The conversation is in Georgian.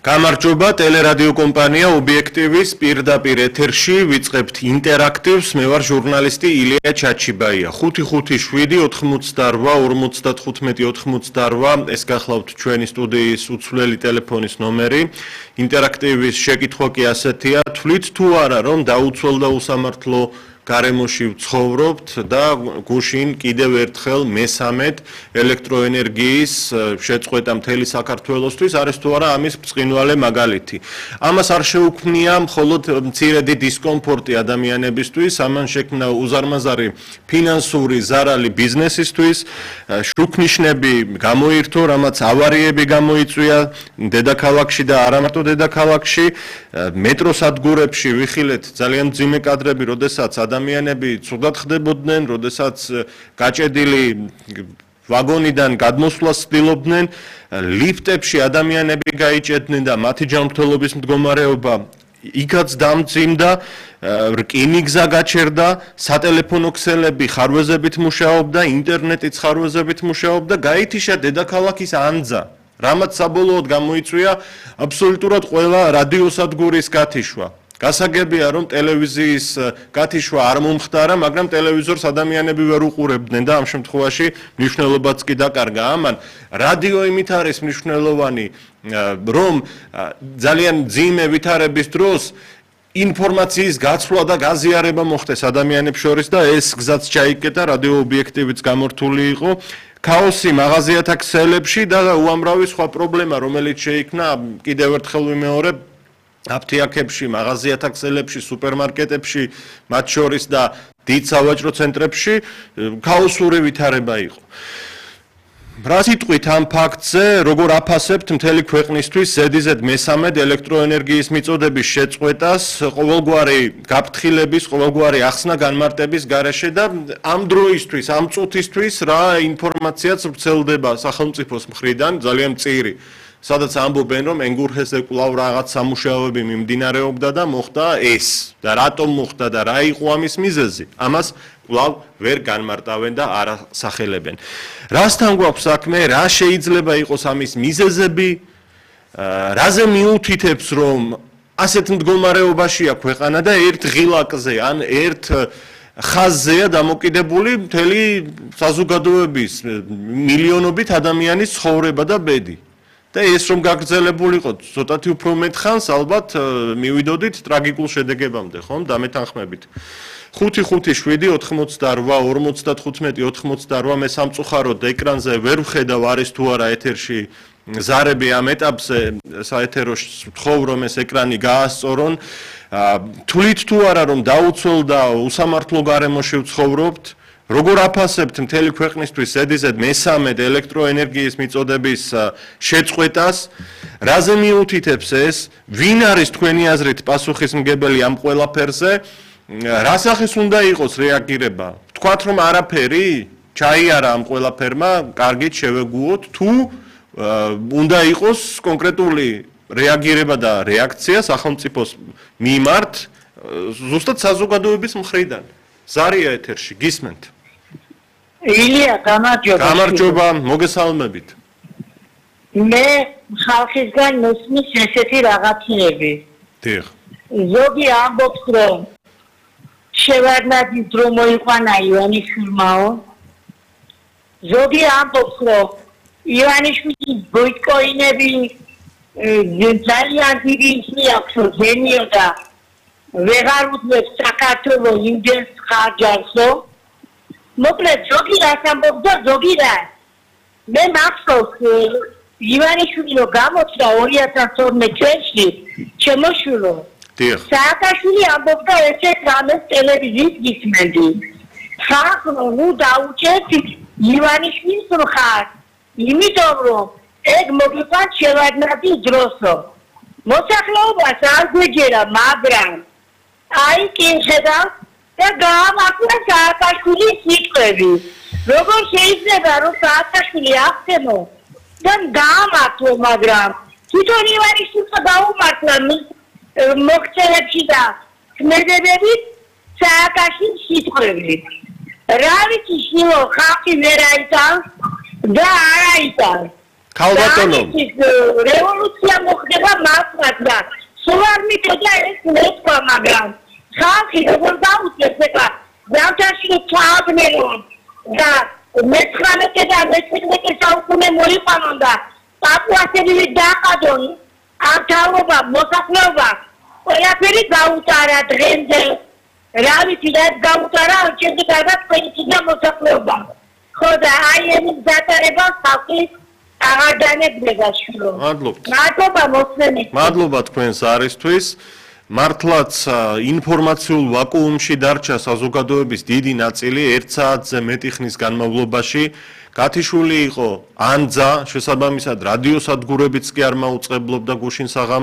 გამარჯობა, ტელერადიო კომპანია ობიექტივის პირდაპირ ეთერში ვიწყებთ ინტერაქტივს. მე ვარ ჟურნალისტი ილია ჩაჩიბაია. 557-58-95-88 ეს გახლავთ ჩვენი სტუდიის უცვლელი ტელეფონის ნომერი. ინტერაქტივის შეკითხვა კი ასეთია: თვლით თუ არა, რომ დაუცველდა უსამართლო გარემოში ვცხოვრობთ და გუშინ კიდევ ერთხელ მესამედ ელექტროენერგიის შეწყვეტა მთელი საქართველოსთვის არის თუ არა ამის ბრწყინვალე მაგალითი. ამას არ შეუქმნია მხოლოდ მცირედი დისკომფორტი ადამიანებისთვის, ამან შექმნა უზარმაზარი ფინანსური ზარალი ბიზნესისთვის, შუქნიშნები გამოირთო, რამაც ავარიები გამოიწვია დედაქალაქში და არა მარტო დედაქალაქში, მეტროსადგურებში ვიხილეთ ძალიან მძიმე კადრები, როდესაც ადამიანები ცუდად ხდებოდნენ, როდესაც გაჭედილი ვაგონიდან გადმოსვლას ცდილობდნენ, ლიფტებში ადამიანები გაიჭედნენ და მათი ჯანმრთელობის მდგომარეობა იქაც დამძიმდა, რკინიგზა გაჩერდა, სატელეფონო ქსელები ხარვეზებით მუშაობდა, ინტერნეტიც ხარვეზებით მუშაობდა, გაითიშა დედაქალაქის ანძა, რამაც საბოლოოდ გამოიწვია აბსოლუტურად ყველა რადიოსადგურის გათიშვა. გასაგებია, რომ ტელევიზიის გათიშვა არ მომხდარა, მაგრამ ტელევიზორს ადამიანები ვერ უყურებდნენ და ამ შემთხვევაში მნიშვნელობაც კი დაკარგა. ამან რადიო იმით არის მნიშვნელოვანი, რომ ძალიან მძიმე ვითარების დროს ინფორმაციის გაცვლა და გაზიარება მოხდეს ადამიანებს შორის და ეს გზაც ჩაიკეტა, რადიო ობიექტივიც გამორთული იყო. ქაოსი მაღაზიათა ქსელებში და უამრავი სხვა პრობლემა, რომელიც შეიქმნა, კიდევ ერთხელ ვიმეორებ, აფთიაქებში, მაღაზიათა ქსელებში, სუპერმარკეტებში, მათ შორის და დიდ სავაჭრო ცენტრებში ქაოსური ვითარება იყო. რა სიტყვით ამ ფაქტზე, როგორ აფასებთ მთელი ქვეყნისთვის ზედიზედ მესამედ ელექტროენერგიის მიწოდების შეწყვეტას, ყოველგვარი გაფრთხილების, ყოველგვარი ახსნა განმარტების გარეშე და ამ დროისთვის, ამ წუთისთვის რა ინფორმაციაც ვრცელდება სახელმწიფოს მხრიდან, ძალიან მწირი. სადაც ამბობენ, რომ ენგურჰესზე კვლავ რაღაც სამუშაოები მიმდინარეობდა და მოხდა ეს და რატომ მოხდა და რა იყო ამის მიზეზი. ამას კვლავ ვერ განმარტავენ და არ ასახელებენ. რასთან გვაქვს საქმე, რა შეიძლება იყოს ამის მიზეზები, რაზე მიუთითებს, რომ ასეთ მდგომარეობაშია ქვეყანა და ერთ ღილაკზე ან ერთ ხაზზეა დამოკიდებული მთელი საზოგადოების მილიონობით ადამიანის ცხოვრება და ბედი. და ეს რომ გაგრძელებულიყო ცოტათი უფრო მეტ ხანს, ალბათ მივიდოდით ტრაგიკულ შედეგებამდე, ხომ, დამეთანხმებით. 5-5-7-88-55-88 მე სამწუხაროდ ეკრანზე ვერ ვხედავ არის თუ არა ეთერში ზარები ამ ეტაპზე საეთერო ვთხოვ რომ ეს ეკრანი გაასწორონ. თვლით თუ არა რომ დაუცველდა უსამართლო გარემოში ვცხოვრობთ, როგორ აფასებთ მთელი ქვეყნისთვის ზედიზედ მესამედ ელექტროენერგიის მიწოდების შეწყვეტას, რაზე მიუთითებს ეს, ვინ არის თქვენი აზრით პასუხისმგებელი ამ ყველაფერზე, რა სახის უნდა იყოს რეაგირება? ვთქვათ რომ არაფერი ჩაიარა ამ ყველაფერმა, კარგით შევეგუოთ, თუ უნდა იყოს კონკრეტული რეაგირება და რეაქცია სახელმწიფოს მიმართ, ზუსტად საზოგადოების მხრიდან. ზარია ეთერში, გისმენთ. ილია, გამარჯობა. გამარჯობა, მოგესალმებით. მე ხალხისგან მოსმის ესეთი რაღაცები. დიახ. ზოგი ამბობს, რომ შევარდნაძის დრო მოიყვანა ივანიშვილმაო. ზოგი ამბობს, რომ ივანიშვილის ბოიკოინები ძალიან დიდი ისმი აქვს, რომ ზენიო და ვეღარ უძლებს საქართველოს იმდენს ხარჯავსო. მოკლედ ზოგი რას ამბობს და ზოგი რა. მე მახსოვს ივანიშვილი რომ გამოჩნდა 2012 წელს შემოშვილო. სააკაშვილი ამბობდა ესეთ რამეს ტელევიზიის გისმენდი. ხალხო ნუ დაუჭერთ ივანიშვილის მხარს. იმიტომ რომ ეგ მოგიყვანს შევარდნაძის დროსო. მოსახლეობას არ გვეჯერა, მაგრამ აი კი ხედავ და გაამართლა სააკაშვილის სიტყვები. როგორ შეიძლება რომ სააკაშვილი აღწევო და გაამართლო, მაგრამ თვითონ ივანიშვილმა გაუმართლა მოქცევებში და ქმედებებით სააკაშვილის სიტყვები. რა ვიცი, შილო ხალხი ვერ აიტანს და არ აიტანს. ქალბატონო, რევოლუცია მოხდება მართლაც და სულ არ მიწოდა ეს მეთქვა, მაგრამ ხალხი როგორ დაუძლებს ეხლა ზამთარში ჩააბნელონ და მე-19 და მე-17 საუკუნე მოიყვანონ და პაპუასები დაყადონ ართაობა, მოსახლეობა ყველაფერი გაუტარა დღემდე რა ვიცი რა გაუტარა ჩემზე გარდა თქვენი და მოსახლეობა ხო და აი ამის გატარება ხალხი აღარ დანებდება შვილო მადლობა მოსმენით მადლობა თქვენს არისთვის მართლაც ინფორმაციულ ვაკუუმში დარჩა საზოგადოების დიდი ნაწილი 1 საათზე მეტი ხნის განმავლობაში გათიშული იყო ანძა შესაბამისად რადიოსადგურებიც კი არ მაუწყებლობდა გუშინ საღამოს